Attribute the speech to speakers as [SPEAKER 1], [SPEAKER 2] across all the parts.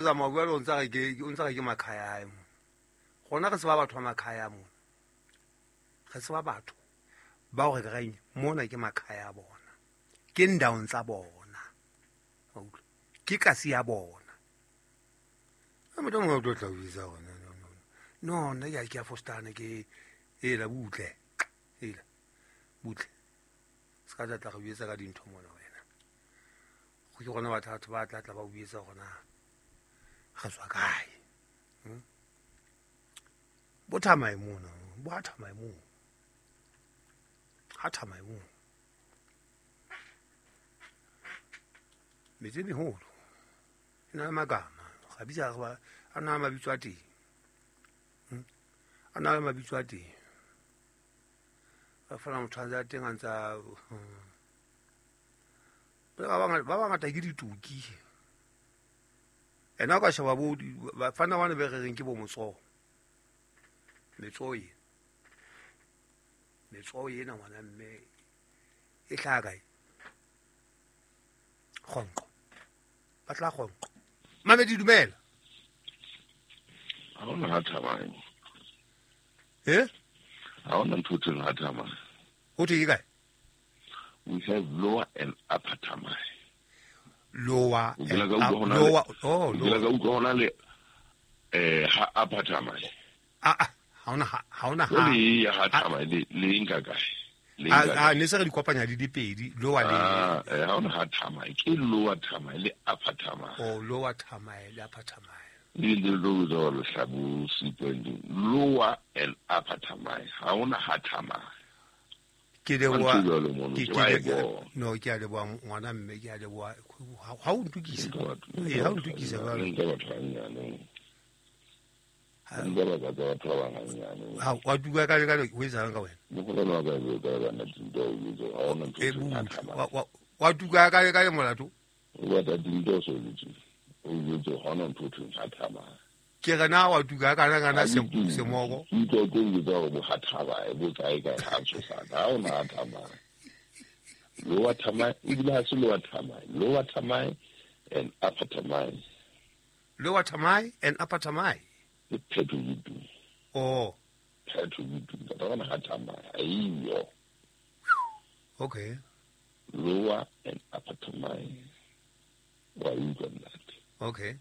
[SPEAKER 1] Tsamaya jwale o ntsa re ke o ntsa re ke makhaya hae mo. Rona re tseba batho ba makhaya mona. Re tseba batho ba hore re reng mona ke makhaya a bona. Ke ndaong tsa bona. Wa utlwa? Ke kasi ya bona. A motho mongwe o tlo tla o bitsa hore no no no. No nna ke a ke a fostana ke ela butle. Ela butle. Se ka tla tla re jwetsa ka dintho mona wena. Go ke gona batho ba tla tla ba o jwetsa hore na re tswa kae. Bo thamae mona, bo ha thamae moo. Ha thamae moo. Metse e meholo e na le magama, ga bitsa ba a na le mabitso a teng. A na le mabitso a teng. Ba fana motho a ntse a teng a ntsa ba bangata ke ditoki. Ena o ka sheba bo bafana bana be re reng ke bo motsoho. Metsoho ena. Metsoho ena ngwana mme e hlaha kae? Kgonqo. Ba tla kgonqo. Mamedi dumela.
[SPEAKER 2] Ha hona ha thamai.
[SPEAKER 1] Eh?
[SPEAKER 2] Ha hona ntho thweng ha thamai.
[SPEAKER 1] Ho thwe ke kae?
[SPEAKER 2] We have lower and upper Thamai.
[SPEAKER 1] Lower
[SPEAKER 2] O kile
[SPEAKER 1] and
[SPEAKER 2] ka
[SPEAKER 1] up,
[SPEAKER 2] utlwa hona le
[SPEAKER 1] lower oh
[SPEAKER 2] o kile
[SPEAKER 1] lower.
[SPEAKER 2] ka utlwa hona le eh ha upper Thamai.
[SPEAKER 1] Ah ah ha hona ha hona ha.
[SPEAKER 2] Jwale e ya ha Thamai le le nka kae? Le
[SPEAKER 1] A
[SPEAKER 2] nka
[SPEAKER 1] a
[SPEAKER 2] kae?
[SPEAKER 1] ne se re di kopanya di le pedi lower le
[SPEAKER 2] Ah, eh ha hona ha Thamai ke lower Thamai le upper Thamai.
[SPEAKER 1] oh lower Thamai le upper Thamai.
[SPEAKER 2] Le le lo lo le hlabu sequence lower and upper Thamai. Ha hona ha Thamai.
[SPEAKER 1] Ke
[SPEAKER 2] Ha
[SPEAKER 1] leboha
[SPEAKER 2] ntho e jwalo mono
[SPEAKER 1] ke
[SPEAKER 2] ke
[SPEAKER 1] ke
[SPEAKER 2] ba e
[SPEAKER 1] le
[SPEAKER 2] bona.
[SPEAKER 1] no ke a leboha ngwana mme ke a leboha ha o ntukisa.
[SPEAKER 2] Nka batho
[SPEAKER 1] Eh
[SPEAKER 2] nka
[SPEAKER 1] ha o
[SPEAKER 2] batho
[SPEAKER 1] ntukisa
[SPEAKER 2] hanyane,
[SPEAKER 1] jwale.
[SPEAKER 2] nka batho hanyane.
[SPEAKER 1] Ha
[SPEAKER 2] Nka ba ka tsa batho ba bang hanyane.
[SPEAKER 1] ha wa tuka ka ka ho etsahalang ka wena?
[SPEAKER 2] Mokolwane wa ka e ka bana tinto o jwetse ha hona ntho
[SPEAKER 1] E
[SPEAKER 2] thweng ha
[SPEAKER 1] butle.
[SPEAKER 2] Thamai.
[SPEAKER 1] Wa tuka ka ka molato.
[SPEAKER 2] O batla tinto o so jwetse. O jwetse ha hona ntho thweng ha Thamai.
[SPEAKER 1] Ke re na wa tuka kana kana
[SPEAKER 2] Ha
[SPEAKER 1] se
[SPEAKER 2] ke tuke.
[SPEAKER 1] semoko.
[SPEAKER 2] Ke utlwa ke o jwetsa hore bo ha Thamai bo kae kae ha tshosana. Ha hona ha Thamai. Lower Thamai ebile ha se lower Thamai. Lower Thamai and upper Thamai.
[SPEAKER 1] Lower Thamai and upper Thamai.
[SPEAKER 2] Ke phetho ke tu.
[SPEAKER 1] Oh,
[SPEAKER 2] Phetho ke tu. Ka hona ha Thamai. Ha eyo.
[SPEAKER 1] okay.
[SPEAKER 2] Lower and upper Thamai. Wa utlwa ntate.
[SPEAKER 1] Okay.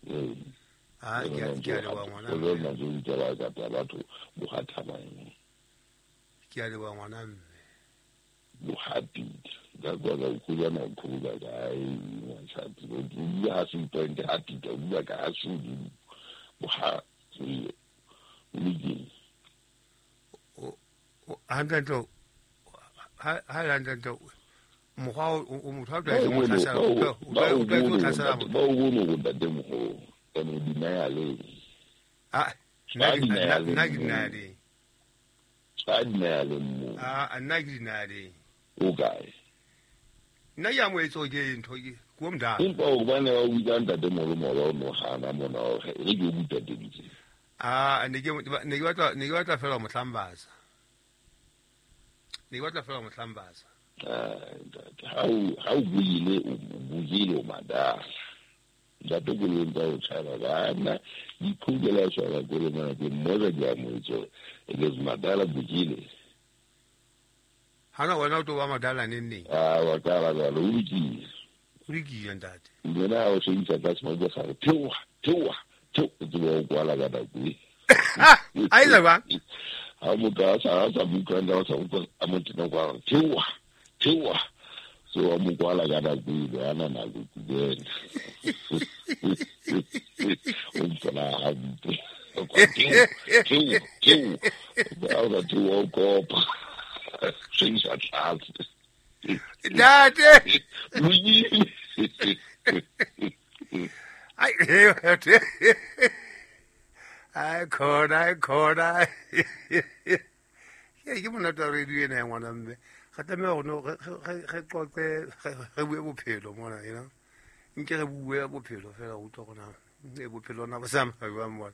[SPEAKER 2] Ee.
[SPEAKER 1] Ah ke a ke a leboha ngwana
[SPEAKER 2] O
[SPEAKER 1] mme.
[SPEAKER 2] lona ntse o utlwa ba ka batho bo ha Thamai.
[SPEAKER 1] Ke a leboha ngwana mme.
[SPEAKER 2] Bo ha pita. Ka kwa ka utlwa na khula kae ngwatsatsi. O bua ha se point ha pita o bua ka ha se bo ha o lokile.
[SPEAKER 1] O hantle ntle ha ha hantle ntle mokgwa o motho ha o
[SPEAKER 2] Ba
[SPEAKER 1] tlwaetse
[SPEAKER 2] o
[SPEAKER 1] ho
[SPEAKER 2] bone
[SPEAKER 1] tlhasela
[SPEAKER 2] ba
[SPEAKER 1] o
[SPEAKER 2] o ba o
[SPEAKER 1] tlwaetse ho
[SPEAKER 2] bone
[SPEAKER 1] tlhasela
[SPEAKER 2] ntate
[SPEAKER 1] motho.
[SPEAKER 2] ba o bone hore ntatemoholo ene o denialeng.
[SPEAKER 1] Ah nna
[SPEAKER 2] Ba
[SPEAKER 1] ke nna
[SPEAKER 2] denialeng
[SPEAKER 1] nna ke
[SPEAKER 2] moo.
[SPEAKER 1] denialeng.
[SPEAKER 2] Ba denialeng moo.
[SPEAKER 1] Ah nna ke denialeng.
[SPEAKER 2] O kae?
[SPEAKER 1] Nna ke amohetse hore ke ntho ke ko mdala.
[SPEAKER 2] Empa hobane ba o bitsa ntatemoholo mola o no hana mona hore re ke o butateditse.
[SPEAKER 1] Ah ne ke ne ke batla fela ho mo hlambatsa. Ne ke batla fela ho mo hlambatsa.
[SPEAKER 2] Ah, ntate, ha o buile o buile o madala. Ntate koloi tsa ho tshaba bana dikhukela tshwara koloi mona ke mmoza ke amohetse hore it is madala bukile.
[SPEAKER 1] Hana wena o tlo ba madala neng neng.
[SPEAKER 2] Ah, wa qala jwalo o lokile.
[SPEAKER 1] O lokile ntate.
[SPEAKER 2] Lena ha o sebedisa ka semoko sa re theoha theoha theo o tsebe ho kwala ka nako e.
[SPEAKER 1] A etsa jwang?
[SPEAKER 2] Ha motho a sa mo utlwa hantle, a sa utlwa a mo tena kwa re theoha theoha so wa mo kwala ka nako eno ha na nako kena. O mpona hampe. O kwa theoha theoha theoha. Ha o sa theoha o kopa. Sebedisa tlase.
[SPEAKER 1] Ntate.
[SPEAKER 2] Lokile.
[SPEAKER 1] Ai ai khona ai khona. Ke monate wa radio ena ya ngwana mme. Re tlameha hore no re qoqe re bue bophelo mona you know. Nke re bue bophelo fela o utlwa hore na e bophelo na bo tsamaya jwang mona.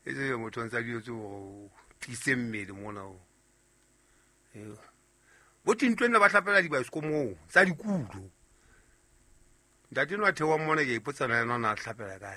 [SPEAKER 1] E se motho o ntsa dilo tse hore o tiise mmele mona o. Bo tintweng ba hlapela dibaesekopo moo tsa dikulo. Ntate no a theoang mona, ke a ipotsa na ena o na a hlapela kae.